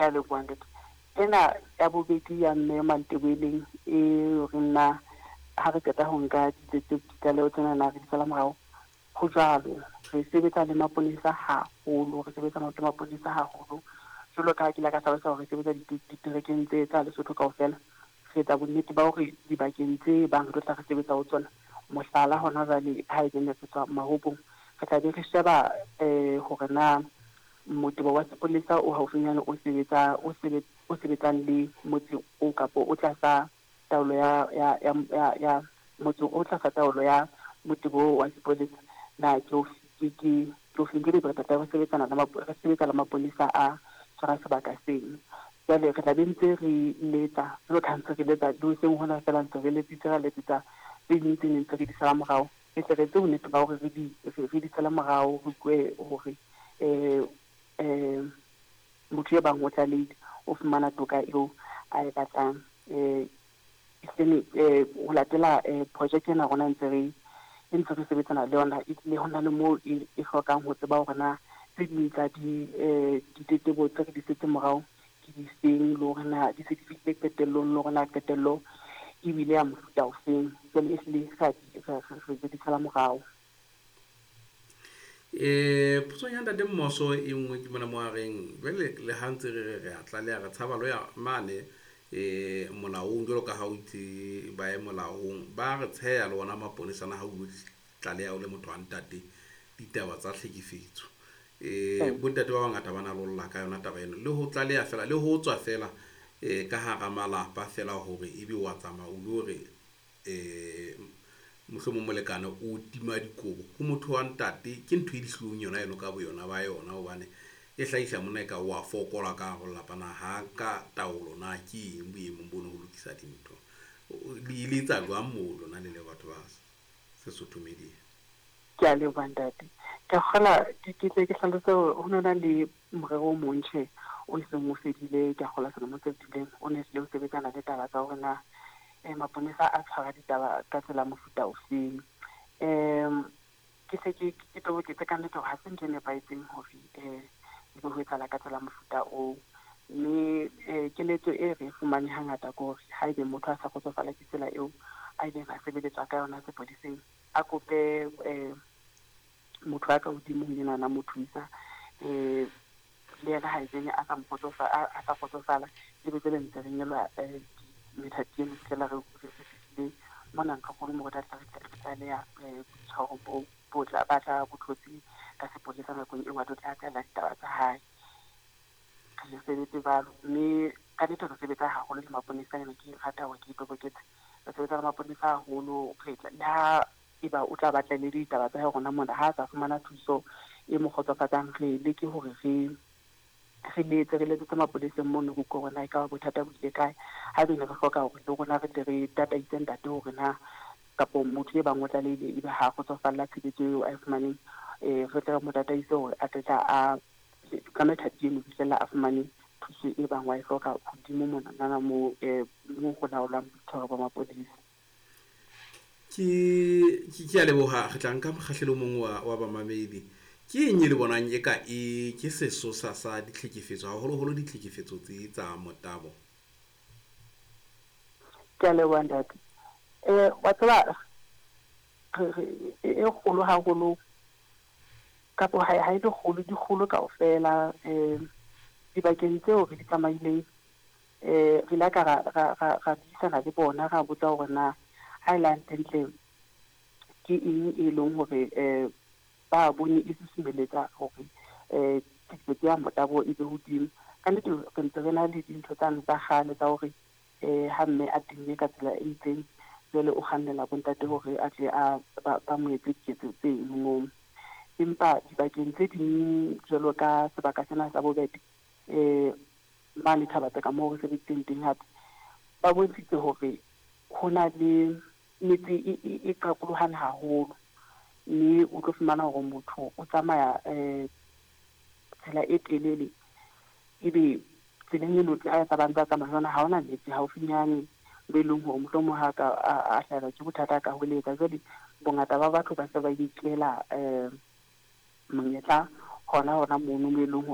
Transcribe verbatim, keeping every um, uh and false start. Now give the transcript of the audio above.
Ke a leboha ntate. Ena ya bobedi ya mme Mantebeleng e re nna ha re qeta ho nka ditlaleho tsena na re di sala morao. Ho jwalo, re sebetsa le maponesa haholo, re sebetsa le maponesa haholo. Jwalo ka ha ke ile ka hlalosa hore re sebetsa diterekeng tse tsa Lesotho kaofela. Re etsa bonnete ba hore dibakeng tse bang re tlo tla re sebetsa ho tsona, mohlala hona jwale ha e ne re tswa Mahobong, re tla be re sheba um hore na motebo wa sepolesa o haufinyane o sebetsa o sebetsa o sebetsang le motse o kapo o tlasa taolo ya ya ya ya motse o tlasa taolo ya motebo wa sepolesa na ke o ke ke ke o feng re tla re sebetsana le re sebetsa le maponesa a tshwara sebaka seno. Jwale re tla be ntse re letsa jwalo ka ntse re letsa le hoseng hona fela ntse re letsitse ra letsetsa tse ding tse neng tse re di sala morao. Re tle re etse bonnete ba hore re di re di sala morao, re kwe hore um um motho e bang o tlalehile o fumana toka eo a e batlang. Um ho latela project ena rona ntse re e ntse re sebetsana le yona, ebile ho na le moo e hlokang ho tseba hore na tse ding tsa di ditletlebo tse re di setseng morao ke di feng, le hore na di se di fihlile qetellong, le hore na qetello ebile ya mofuta ofeng. Jwale ehlile re di sala morao. Eh potso ya ntate Mmoso e nngwe ke mona mo a reng jwale le ha ntse re re re a tlaleha re tshaba lo ya mane eh molaong jwalo ka ha o itse ba ye molaong ba re tsheya le ona maponesa na ha o tlaleha o le motho wa ntate ditaba tsa tlhekefetso. Eh bontate ba bangata ba na lolla ka yona taba eno le ho tlaleha fela le ho tswa fela eh ka hara malapa fela hore ebe wa tsamaya o lo re eh mohlomong molekane o tima dikobo ho motho wa ntate ke ntho e dihlong yona eno ka boyona ba yona hobane e hlahisa monna e ka wa fokola ka hare ho lelapa na ha ka taolo na ke eng boemong bono ho lokisa dintho. Le ile etsa jwang moo lona le le batho ba Sesotho Media? Ke a leboha ntate. Ke kgola ke tle ke hlalose hore ho na le morero o mong tjhe o seng o fedile, ke a kgolwa selemo se fetileng o ne hlile o sebetsana le taba tsa hore na eh maponesa a tshwara ditaba ka tsela mofuta ofeng. Um ke se ke ke toboketse ka nnete hore ha se ntho e nepahetseng hore eh ebe ho etsahala ka tsela mofuta oo. Mme eh keletso e re fumane hangata ke hore haebe motho a sa kgotsofala ke tsela eo a ileng a sebeletswa ka yona sepoleseng, a kope eh motho a ka hodimo ho yena mo thusa eh le yena ha etseng a sa mo kgotsofa a sa kgotsofala ebe tsele ntse re nyelwa methati eno fihlela re re fihlile mona ntlokgolo mo re tla re tlaleha boitshwaro bo bo tla batla bo thotse ka sepolesa nakong eo a tlo tla tlela ditaba tsa hae. Re sebetse jwalo, mme ka nnete re sebetsa haholo le maponesa ena ke rata hore ke itoboketse. Re sebetsa le maponesa haholo, re tla le ha eba o tla batla le ditaba tsa hae rona mona ha a sa fumana thuso e mo kgotsofatsang, re leke hore re re letse re letsetse mapoleseng mono ho utlwa hore na ekaba bothata bo ile kae. Haebe ne re hloka hore le rona re tle re tataise ntate hore na kapo motho e bang o tlalehile ebe ha kgotsofalla tshebetso eo a e fumaneng, eh re tle re mo tataise hore a tle tla a ka methati eno ho fihlella a fumane thuso e bang wa e hloka hodimo monana moo eh moo ho laolwang boitshwaro ba mapolesa. Ke ke ke a leboha re tla nka mokgahlelo o mong wa wa bamamedi. Ke eng e le bonang e ka e ke sesosa sa ditlhekefetso haholoholo ditlhekefetso tse tsa motabo? Ke a leboha ntate. Eh wa tseba e kgolo haholo kapo ha ha e le kgolo di kgolo kaofela eh dibakeng tseo re di tsamaileng eh re ile ka ra ra ra buisana le bona ra botsa hore na ha e le hantlentle ke eng e leng hore eh ba bone e susumelletsa hore eh tlhekefetso ya motabo e be hodimo. Ka nnete re ntse re na le dintho tsane tsa kgale tsa hore eh ha mme a tenne ka tsela e itseng jwale o kgannela bontate hore a tle a ba mo etse diketso tse moo. Empa dibakeng tse ding jwalo ka sebaka sena sa Bobete eh mane Thaba-Tseka moo re sebeditseng teng hape ba bontshitse hore ho na le metse e qakolohane haholo, mme o tlo fumana hore motho o tsamaya eh tsela e telele ebe tseleng eno a tsamayang tsa tsamaya jwana ha hona metsi haufinyane bo e leng hore mohlomong ha ka a hlahelwa ke bothata ka hweletsa. Jwale bongata ba batho ba se ba inkela eh monyetla hona hona mono mo e leng hore